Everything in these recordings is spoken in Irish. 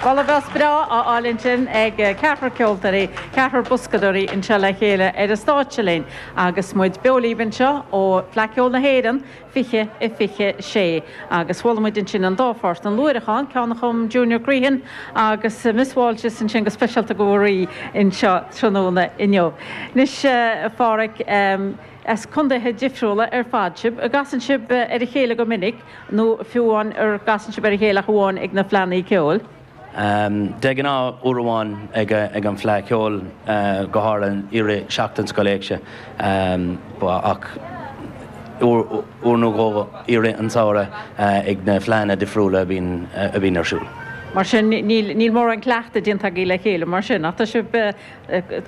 Boladh bos breá á fháil ansin ag ceathrar ceoltóirí, ceathrar boscadóirí anseo le chéile ar an stáitse linn agus muid beo libh anseo ó Fleadh Cheoil na hÉireann 2026. Agus chuala muid ansin an dá pháirt, an Luaithreachán, ceann a chum Junior Crehan agus Miss Walshes ansin go speisialta do Mharie anseo tráthnóna inniu. Anois, a Pháraic, as contaetha difriúla ar fad sibh. An gcasann sibh ar a chéile go minic nó fiú amháin ar gcasann sibh ar a chéile ach amháin ag na fleannaí ceoil? De ghnáth uair amháin ag an Fleadh Cheoil, go háirithe i rith seachtain Scoil Éigse, ach uair nó dhó i rith an tsamhraidh ag na fleadhanna difriúla a bhíonn ar siúl. Mar sin, níl mórán cleachtaidh déanta agaibh le chéile mar sin, ach tá sibh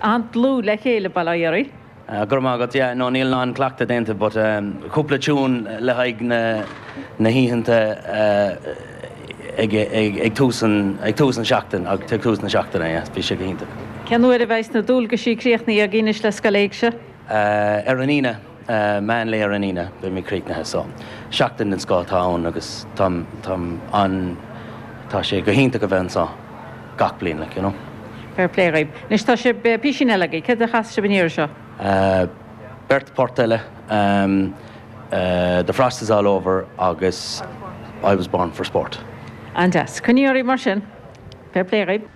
an-dlúth le chéile, bail ó Dhia oraibh. Go raibh maith agat. Yeah, no, níl an-cleachtadh déanta but cúpla tune le haghaidh na na hoícheanta ag ag tús an ag tús an seachtain ag tús na seachtaine, yeah, bhí sé go hiontach. Cén uair a bheidhs na dualgaisí críochnaithe agaibh anois le Scoil Éigse? Ar an Aoine, meán lae ar an Aoine, beimid críochnaithe so seachtain den scoth atá ann agus táim táim an tá sé go hiontach a bheith anseo gach bliain like, you know. Fair play dhaoibh. Anois tá sibh písín eile agaibh. Céard a chas sibh an iarraidh seo? Beirt port eile, The Frost Is All Over agus I Was Born For Sport. An-deas. Coinnigí oraibh mar sin. Fair play dhaoibh.